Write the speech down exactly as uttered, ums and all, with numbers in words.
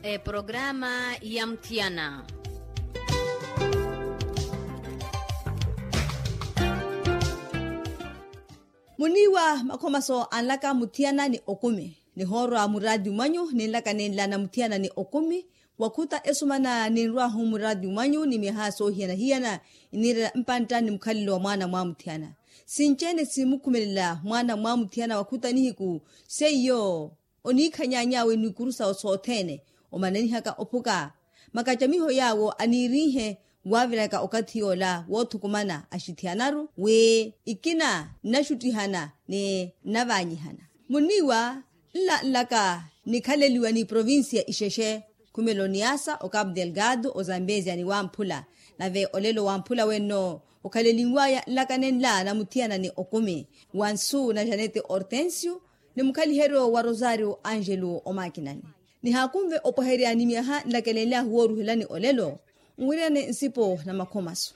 Eprograma ya muthiyana. Muniiwa makhomaso anlaka muthiyana ni okumi nihoorwa muraati mwanyu ninlaka ninla na muthiyana ni okumi. Wakhuta esumana ninrwahu muraati mwanyu ni myaha soohiyana-hiyana iniirela mpantta ni mukhalelo wa mwaana mwa muthiyana. Sinci-ene simukhumelela mwaana mwa muthiyana wakhuta nihiku seiyo oniikhanyaany'awe n'ikuru sawe sothene omananihaka ophuka makacamiho yaawo aniiriihe waaviraka okathi yoola woothukumana axithiyanaru wi ikina nnaxuttihana ni nnavaanyihana. Munniiwa nla nlaka nikhaleliwa ni provincia ixexe khumela oniasa ocapu delgado ozambezia ni wamphula nave olelo wamphula wenno okhalelinwaya nlaka nenla na muthiyana ni okumi wa nsu na janete hortensio ni mukhaliheryo wa rosario angelo omakinani. Nihaakunve opweherya ni myaha nlakelenlyahu wooruhelani olelo nwiriyane nsipo na makhomaso.